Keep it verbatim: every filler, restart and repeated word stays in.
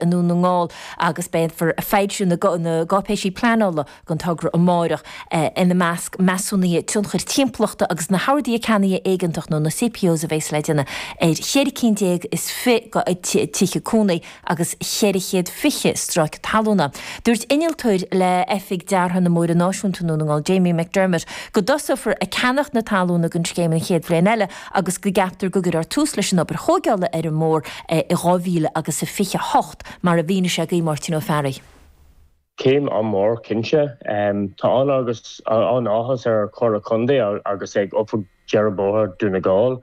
i nDún na nGall agus beifear ag foilsiú na gcáipéisí pleanála don togra amárach ina measc measúnuithe tionchair timpeallachta agus na horduithe ceannaithe éigeantach nó na CPOs a bheas le déanamh ar cheithre cinn déag is fiche tithe cónaí agus ceithre chéad fiche stráice talúna. Dúirt innealtóir le Oifig Deartha na mBóithre Náisiúnta Dhún na nGall Jamie McDermott go dtosófar ag ceannach na talúna don scéim an chéad bhliain eile agus go gceaptar go gcuirfear tús leis an obair thógála ar an mbóthar i dhá mhíle agus a fiche hocht mar a mhínigh sé do Mháirtín Ó Fearraigh. Céim an-mhór cinnte. Tá an agus an-áthas ar Chomhairle Contae agus ag Oifig Dearadh Bóthair Dún na nGall